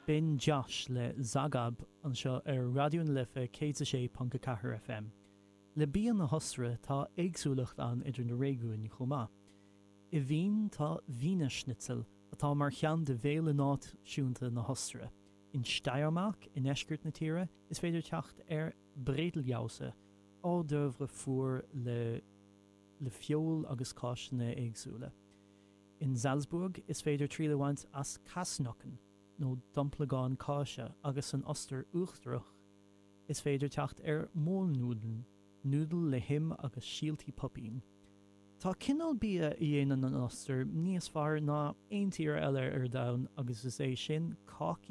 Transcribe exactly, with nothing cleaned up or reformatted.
B'in Josh le Zagab anseo ar Raidió na Life céad a sé ponc a ceathair FM. Le bia na hOstaire tá éagsúlacht ann idir na réigiúin chomh maith. I Vín tá Wiener Schnitzel atá mar cheann de bhéilí náisiúnta na hOstaire. In Steiermark i ndeisceart na tíre is féidir teacht ar Brettljause, hors d'oeuvre fuar le le feoil agus cáiseanna éagsúla. In Salzburg is féidir triail a bhaint as Kasnocken nó domplagán cáise agus san Ostair Uachtarach is féidir teacht ar Mohnnudeln, núdail le him agus síoltaí poipín. Tá cineál bia a dhéanann an Ostair níos fearr ná aon tír eile ar domhan agus is é sin cácaí